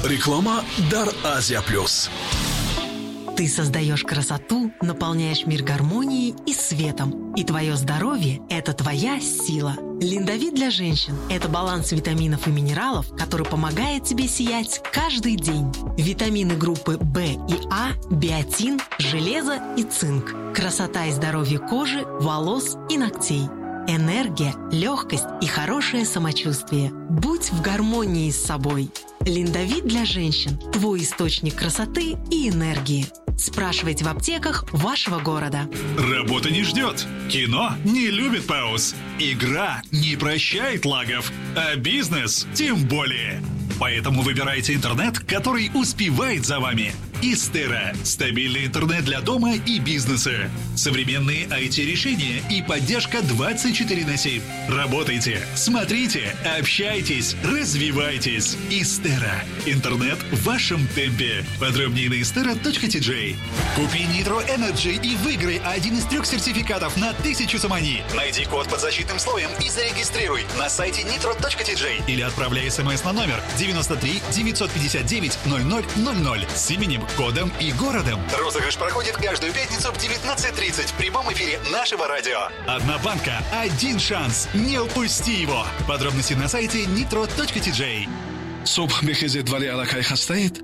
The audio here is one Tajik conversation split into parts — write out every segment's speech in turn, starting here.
Реклама дар Азия Плюс. Ты создаешь красоту, наполняешь мир гармонией и светом. И твое здоровье – это твоя сила. Линдовит для женщин – это баланс витаминов и минералов, который помогает тебе сиять каждый день. Витамины группы В и А, биотин, железо и цинк. Красота и здоровье кожи, волос и ногтей. Энергия, легкость и хорошее самочувствие. Будь в гармонии с собой. Линдовит для женщин – твой источник красоты и энергии. Спрашивайте в аптеках вашего города. Работа не ждет. Кино не любит пауз. Игра не прощает лагов. А бизнес тем более. Поэтому выбирайте интернет, который успевает за вами. Истера – стабильный интернет для дома и бизнеса. Современные IT-решения и поддержка 24/7. Работайте, смотрите, общайтесь, развивайтесь. Истера – интернет в вашем темпе. Подробнее на istera.tj. Купи Nitro Energy и выиграй один из 3 сертификатов на 1000 сомони. Найди код под защитным слоем и зарегистрируй на сайте nitro.tj или отправляй смс на номер 93 959 00 00 с именем, кодом и городом. Розыгрыш проходит каждую пятницу в 19:30 в прямом эфире нашего радио. Одна банка, один шанс. Не упусти его. Подробности на сайте nitro.tj. Субҳ мехезед, вале аллакай хастаед?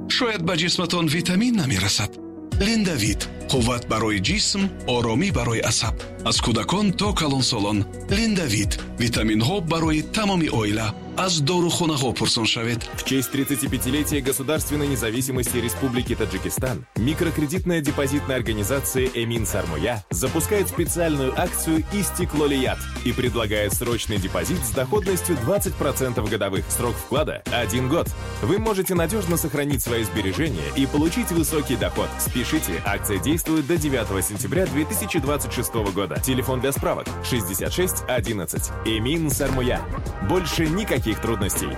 Шояд ба ҷисматон витамин намерасад. Линдавит – қувват барои ҷисм, оромӣ барои асаб. Аз кӯдакон то калонсолон. Линдавит – витаминҳо барои тамоми оила. Аз дорухонаҳо пурсон шавед. В честь 35-летия государственной независимости Республики Таджикистан микрокредитная депозитная организация «Эмин Сармоя» запускает специальную акцию «Истиклолият» и предлагает срочный депозит с доходностью 20% годовых. Срок вклада – 1 год. Вы можете надежно сохранить свои сбережения и получить высокий доход. Спешите, акция действует до 9 сентября 2026 года. Телефон для справок 66 11. «Эмин Сармоя». Больше никаких трудностей.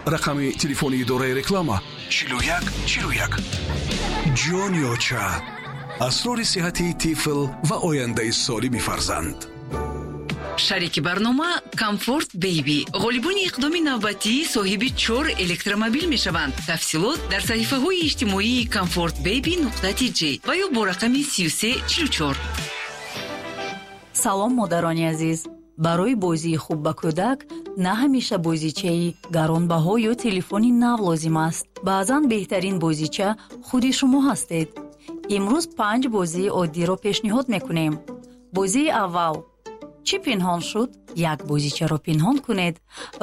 Рақами телефони идораи реклама 41 41. Ҷониоча. Асрори сиҳати тифл ва ояндаи солими фарзанд. Шарики барнома Комфорт Бейби. Ғолибони иқдоми навбатӣ соҳиби 4 электромобил мешаванд. Тафсилот дар саҳифаҳои иҷтимоии Комфорт Бейби нуқта тж ва ё бо рақами 3344. Салом, модарони азиз. Барои бозии хуб ба кӯдак на ҳамеша бозичаи гаронбаҳо ё телефони нав лозим аст. Баъзан беҳтарин бозича худи шумо ҳастед. Имрӯз 5 бозии оддиро пешниҳод мекунем. Бозии аввал. Чӣ пинҳон шуд? Як бозичаро пинҳон кунед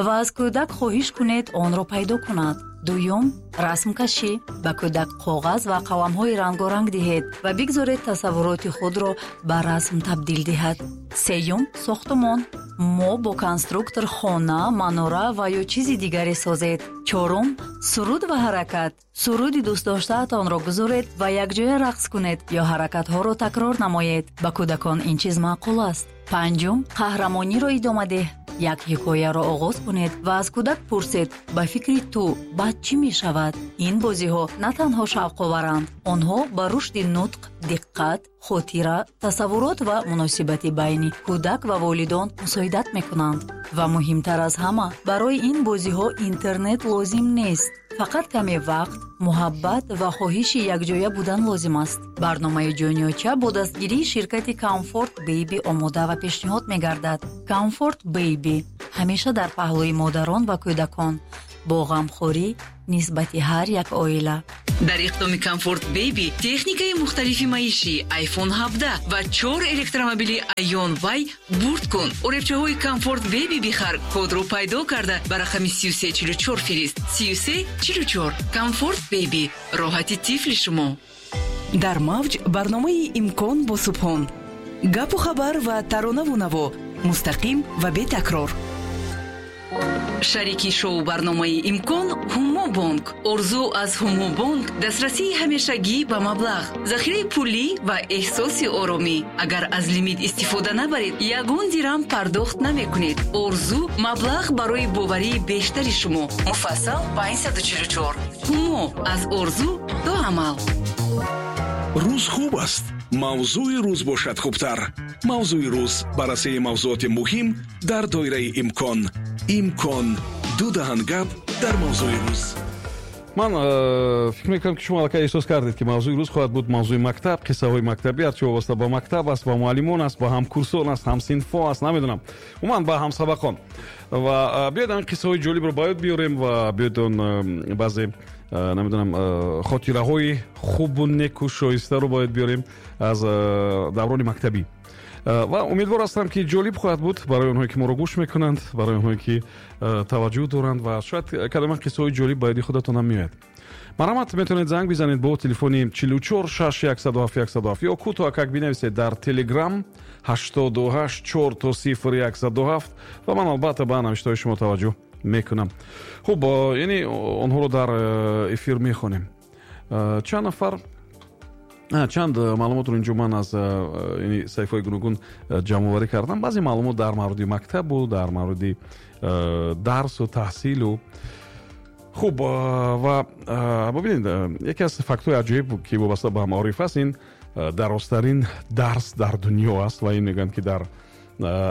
ва аз кӯдак хоҳиш кунед онро пайдо кунад. Дуюм, расмкашӣ. Ба кӯдак коғаз ва қаламҳои рангоранг диҳед ва бигзоред тасаввуроти худро ба расм табдил диҳад. Сеюм, сохтумон. Мо бо конструктор хона, манора ва ё чизи дигаре созед. Чорум, суруд ва ҳаракат. Суруди дӯстдоштаатонро гузоред ва якҷоя рақс кунед ё ҳаракатҳоро такрор намоед. Ба кӯдакон ин чиз маъқул аст. Панҷум, қаҳрамониро идома деҳ. Як ҳикояро оғоз кунед ва аз кӯдак пурсед, ба фикри ту баъд чӣ мешавад? Ин бозиҳо на танҳо шавқоваранд, онҳо ба рушди нутқ, диққат, хотира, тасаввурот ва муносибати байни кӯдак ва волидон мусоидат мекунанд. Ва муҳимтар аз ҳама, барои ин бозиҳо интернет лозим нест. Фақат каме вақт, муҳаббат ва хоҳиши якҷоя будан лозим аст. Барномаи Ҷониоча бо дастгирии ширкати Комфорт Бейби омода ва пешниҳод мегардад. Комфорт Бейби ҳамеша дар паҳлӯи модарон ва кӯдакон, бо ғамхорӣ нисбати ҳар як оила. Дар иқдоми Комфорт Бейби техникаи мухталифи маишӣ, iPhone 17 ва 4 электромобили Ion Y бурд кун. Оребчаҳои Комфорт Бейби бихар, кодро пайдо карда ба рақами 3344 фирист. 3344. Комфорт Бейби. Роҳати тифли шумо. Дар мавҷ барномаи Имкон бо Субҳон. Гапу хабар ва таронаву наво мустақим ва бетакрор. Шарики шоу барномаи Имкон Ҳумобонк. Орзу аз Ҳумобонк дастрасии ҳамешагӣ ба маблағ, захираи пулӣ ва эҳсоси оромӣ. Агар аз лимит истифода набаред, ягон дирам пардохт намекунед. Орзу маблағ барои боварии бештари шумо. Муфассал 544. Ҳумо аз орзу то амал. Рӯз хуб аст. Мавзӯи рӯз бошад хубтар. Мавзӯи рӯз баррасии мавзӯоти муҳим дар доираи имкон. Имкон ду даҳан гап дар мавзӯи рӯз. Ман фикр мекунам, ки шумо аллакай эҳсос кардед, ки мавзӯи рӯз хоҳад буд мавзӯи мактаб, қиссаҳои мактабӣ, ҳарчи вобаста ба мактаб аст, ба муаллимон аст, ба ҳамкурсон аст, ҳамсинфо аст, намедонам, умуман ба ҳамсабақон. Ва биёед ҳамин қиссаҳои ҷолибро ба ёд биёрем ва биёед он баъзе, намедонам, хотираҳои хубу неку шоистаро бояд биёрем аз даврони мактабӣ. Ва умедвор ҳастам, ки ҷолиб хоҳад буд барои онҳое, ки моро гӯш мекунанд, барои онҳое, ки таваҷҷӯҳ доранд, ва шояд кадома қиссаҳои ҷолиб ба ёди худатонам меояд. Марҳамат, метавонед занг бизанед бо телефони 44 6 107 107 ё кӯтоҳакак бинависед дар Телеграм 88 4 то 0 107, ва ман албатта ба навиштаҳои шумо таваҷҷӯҳ мекунам. Хуб, яъне онҳоро дар эфир мехонем. Чанд нафар, чанд маълумотро инҷо ман аз саҳифаҳои гуногун ҷамъоварӣ кардам. Баъзе маълумот дар мавриди мактабу дар мавриди дарсу таҳсилу. Хуб, ва бибинед, яке аз фактҳои аҷоиб, ки вобаста ба маориф аст, ин дарозтарин дарс дар дунё аст, ва ин мегӯянд, ки дар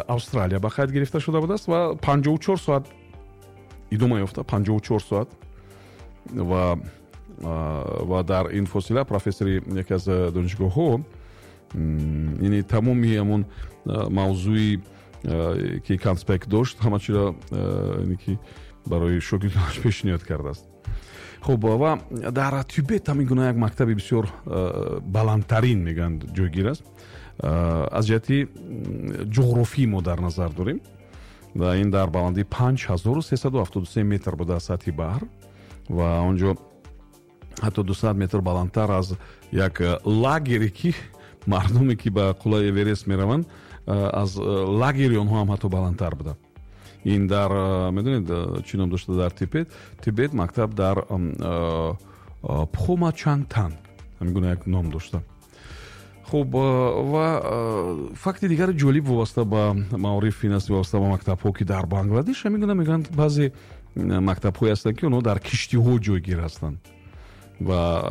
Австралия ба қайд гирифта шуда будааст ва 54 соат идома ёфта, 54 соат. Ва дар ин фосила профессори яке аз донишгоҳҳо, яъне тамоми ҳамон мавзӯи, ки конспект дошт, ҳама чиро ки барои шогирдонаш пешниҳод кардааст. Хуб, ва дар Тибет ҳамин гуна як мактаби бисёр баландтарин, мегӯянд, ҷойгир аст. Аз ҷиҳати ҷуғрофӣ мо дар назар дорем, ва ин дар баландии 5373 метр буда аз сатҳи баҳр, ва он ҷо ҳатто 200 метр баландтар аз як лагере, ки мардуме, ки ба қуллаи Эверест мераванд, аз лагери онҳо ҳам ҳатто баландтар буда. Ин дар, медонед, чӣ ном дошта дар Тибет мактаб дар Пхомачангтан ҳамин гуна як ном дошта. Хуб, ва факти дигари ҷолиб вобаста ба маориф ин аст, вобаста ба мактабҳо, ки дар Бангладеш ҳамин гуна, мегӯянд, баъзе мактабҳое ҳастанд, ки онҳо дар киштиҳо ҷойгир ҳастанд, ва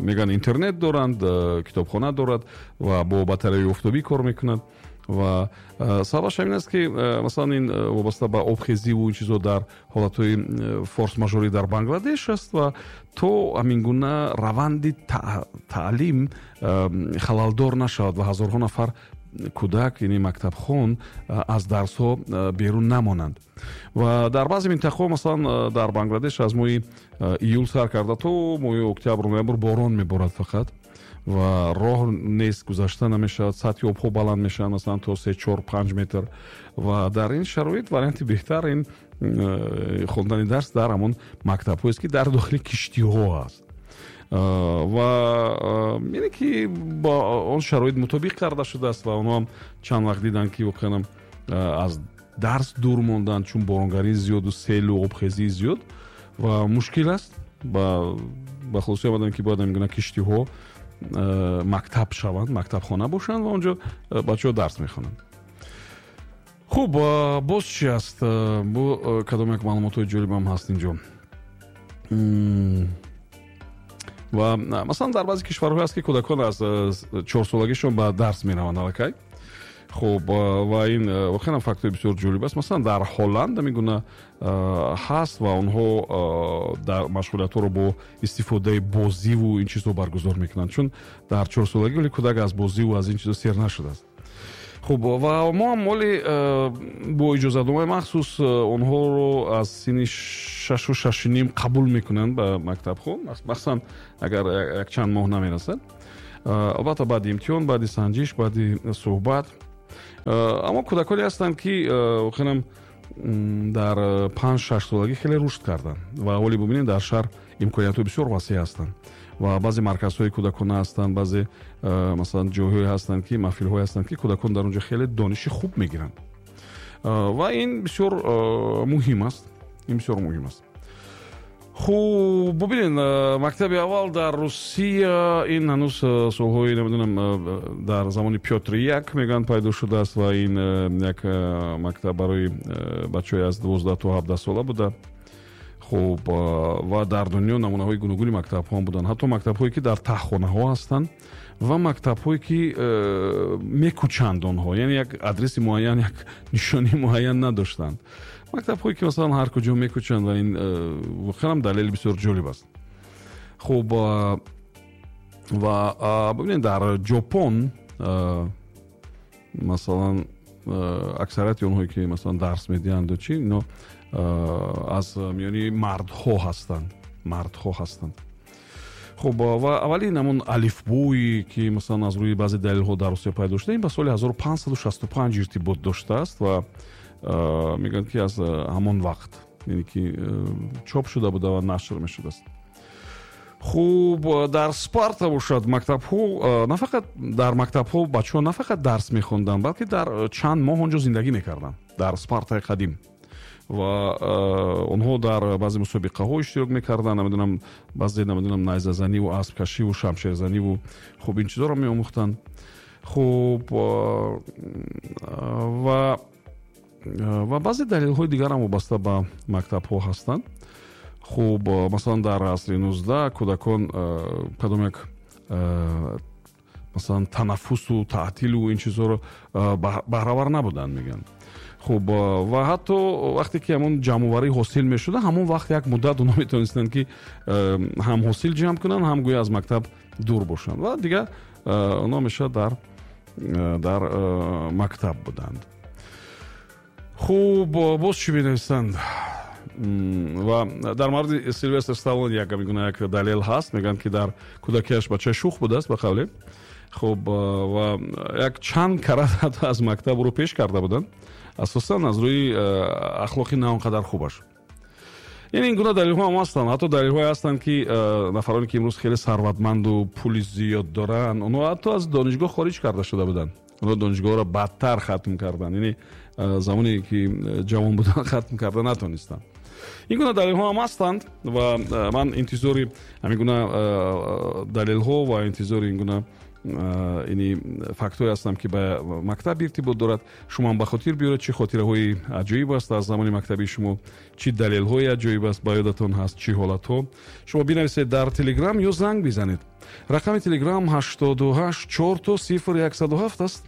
мегӯянд, интернет доранд, китобхона дорад ва бо батареяи офтобӣ кор мекунад. Ва сабабаш ҳамин аст, ки масалан ин вобаста ба обхезиву ин чизо дар ҳолатҳои форс-мажорӣ дар Бангладеш аст, ва то ҳамин гуна раванди таълим халалдор нашавад ва ҳазорҳо нафар кӯдак, яъне мактабхон, аз дарсҳо берун намонанд. Ва дар баъзе минтақаҳо, масалан дар Бангладеш, аз моҳи июл сар карда то моҳи октябр, ноябр борон меборад фақат, ва роҳ нест, гузашта намешавад, сатҳи обҳо баланд мешаванд, масалан то 3, 4, 5 метр. Ва дар ин шароит варианти беҳтар ин хондани дарс дар ҳамон мактабҳоест, ки дар дохили киштиҳо аст, ва яъне ки ба он шароит мутобиқ карда шудааст. Ва онҳо ҳам чанд вақт диданд, ки воқеан аз дарс дур монданд, чун боронгарии зиёду селу обхезии зиёд ва мушкил аст. Ба хулоса омаданд, ки бояд ҳамин гуна киштиҳо мактаб шаванд, мактабхона бошанд, ва онҷо бачаҳо дарс мехонанд. Хуб, боз чи аст? Бо кадом як маълумотҳои ҷолибам ҳаст инҷо? Ва масалан дар баъзе кишварҳое аст, ки кӯдакон аз 4-солагишон ба дарс мераванд аллакай. Хуб, ва ин воқеан фактҳои бисёр ҷолиб аст. Масалан дар Ҳолланд ҳамин гуна ҳаст, ва онҳо дар машғулиятҳоро бо истифодаи бозиву ин чизҳо баргузор мекунанд, чун дар 4-солагӣ вале кӯдак аз бозиву аз ин чизҳо сер нашудааст. Хуб, ва мо ҳам моли бо иҷозатномаи махсус онҳоро аз синни 6-6.5 қабул мекунанд ба мактабҳо, махсусан агар якчанд моҳ намерасад. Албатта баъди имтиҳон, баъди санҷиш, баъди суҳбат. Аммо кӯдаконе ҳастанд, ки воқеан дар 5-6 солагӣ хеле рушд карданд, ва ҳоле бубинед, дар шаҳр имкониятҳои бисёр васеъ ҳастанд, ва баъзе марказҳои кӯдакона ҳастанд, баъзе масалан ҷойҳое ҳастанд, ки маҳфилҳое ҳастанд, ки кӯдакон дар он ҷо хеле дониши хуб мегиранд, ва ин бисёр муҳим аст, ин бисёр муҳим аст. Хуб, бубинед, мактаби аввал дар Русия ин ҳанӯз солҳои, намедонам, дар замони Пётри Як, мегӯянд, пайдо шудааст, ва ин як мактаб барои бачаҳои аз 12 то 17 сола буда. Хуб, ва дар дунё намунаҳои гуногуни мактабҳо буданд, ҳатто мактабҳое, ки дар таҳхонаҳо ҳастанд, ва мактабҳое, ки мекӯчанд онҳо, яъне як адреси муайян, як нишонии муайян надоштанд. Мактабҳое, ки масалан ҳар куҷо мекӯчанд, ва ин воқеан далели бисёр ҷолиб аст. Хуб, ва бибинед, дар Ҷопон, масалан, аксарияти онҳое ки, масалан, дарс медиҳанду чӣ, ино аз миёни мардҳо ҳастанд, мардҳо ҳастанд. Хуб, ва аввалин ҳамон алифбое ки, масалан, аз рӯи баъзе далелҳо дар Русия пайдо шуда, ин ба соли 1565 иртибот доштааст ва мегӯянд, ки аз ҳамон вақт, яъне ки, чоп шуда буда ва нашр мешудааст. Хуб, дар Спарта бошад, мактабҳо на фақат дар мактабҳо бачаҳо на фақат дарс мехонданд, балки дар чанд моҳ он ҷо зиндагӣ мекарданд, дар Спартаи қадим, ва онҳо дар баъзе мусобиқаҳо иштирок мекарданд, намедонам, баъзе, намедонам, найзазаниву аспкашиву шамшерзаниву, хуб, ин чизоро меомӯхтанд. Хуб, ва баъзе далелҳои дигарам вобаста ба мактабҳо ҳастанд. Хуб, масалан, дар асри 19 кӯдакон кадом як, масалан, танаффусу таътилу ин чизҳоро баҳравар набуданд, мегӯянд. Хуб, ва ҳатто вақте ки ҳамон ҷамъоварӣ ҳосил мешуда, ҳамон вақт як муддат онҳо метавонистанд, ки ҳам ҳосил ҷамъ кунанд, ҳам гӯё аз мактаб дур бошанд, ва дигар онҳо ҳамеша дар мактаб буданд. Хуб, боз чӣ менависанд? Ва дар мавриди Силвестр Сталлон як гуна як далел ҳаст. Мегӯянд, ки дар кӯдакиаш бачаи шух будааст, ба қавле. Хуб, ва як чанд карат ҳатто аз мактаб ӯро пеш карда буданд, асосан аз рӯи ахлоқи на он қадар хубаш. Яъне ин гуна далелҳо ҳам ҳастанд. Ҳатто далелҳое ҳастанд, ки нафароне ки имрӯз хеле сарватманду пули зиёд доранд, онҳо ҳатто аз донишгоҳ хориҷ карда шуда буданд. Онҳо донишгоҳро бадтар хатм карданд, яъне замоне ки ҷавон буданд, хатм карда натонистанд. Ин гуна далелҳо ҳам ҳастанд ва ман интизори ҳамин гуна далелҳо ва интизори ин гуна ини фактҳое ҳастам, ки ба мактаб иртибот дорад. Шумо ҳам ба хотир биёред, чӣ хотираҳои аҷоиб аст аз замони мактабии шумо, чӣ далелҳои аҷоиб аст ба ёдатон ҳаст, чӣ ҳолатҳо. Шумо бинависед дар Телеграм ё занг бизанед. Рақами Телеграм 88 000 0107 аст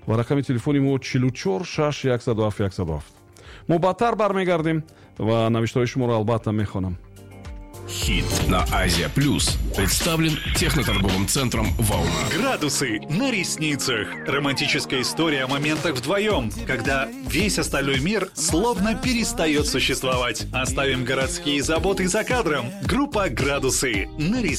ва рақами телефони мо 44 6 107 107. Мо баъдтар бармегардем ва навиштаҳои шуморо албатта мехонам. Хит на Азия Плюс представлен техноторговым центром «Волна». Градусы на ресницах. Романтическая история о моментах вдвоем, когда весь остальной мир словно перестает существовать. Оставим городские заботы за кадром. Группа «Градусы» на ресницах.